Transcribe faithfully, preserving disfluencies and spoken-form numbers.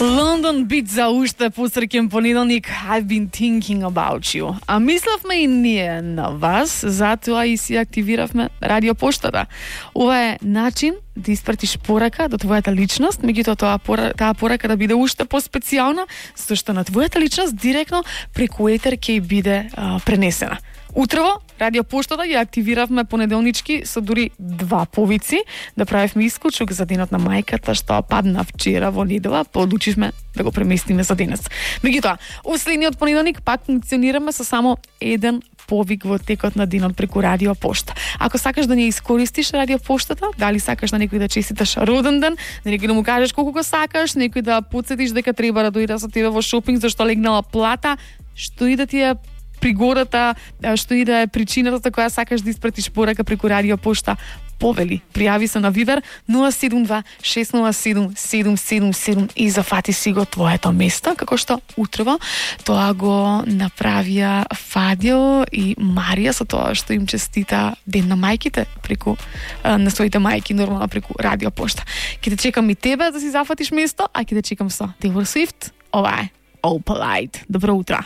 London Beat за уште посреќен понеделник. I've been thinking about you. А мислевме и ние на вас, затоа и си активиравме радиопоштата. Ова е начин да испратиш порака до твојата личност, меѓутоа тоа пора, таа порака да биде уште поспецијална, зашто на твојата личност директно преку етер ќе биде а, пренесена. Утрово, радиопоштата ја активиравме понеделнички со дури два повици, да правевме исклучок за денот на мајката што падна вчера во недела, подлучивме да го преместиме за денес. Меѓутоа, уследниот понеделник пак функционираме со само еден повик во текот на денот преку радиопошта. Ако сакаш да не искористиш радиопоштата, дали сакаш на некој да честиташ роден ден, на некој да му кажеш колку го сакаш, некој да потсетиш дека треба да дојде со тебе во шопинг зашто легнала плата, што и да ти е пригодата, што и да е причината за која сакаш да испратиш порака преку радиопошта, повели, пријави се на Вибер нула седум два шест нула седум седум седум седум и зафати си го твоето место, како што утрово тоа го направија Фадио и Марија со тоа што им честита ден на мајките преку на своите мајки, нормално преку радиопошта. Ќе те чекам и тебе да си зафатиш место, а ќе те чекам со Taylor Swift. Ова е All Polite. Добро утро.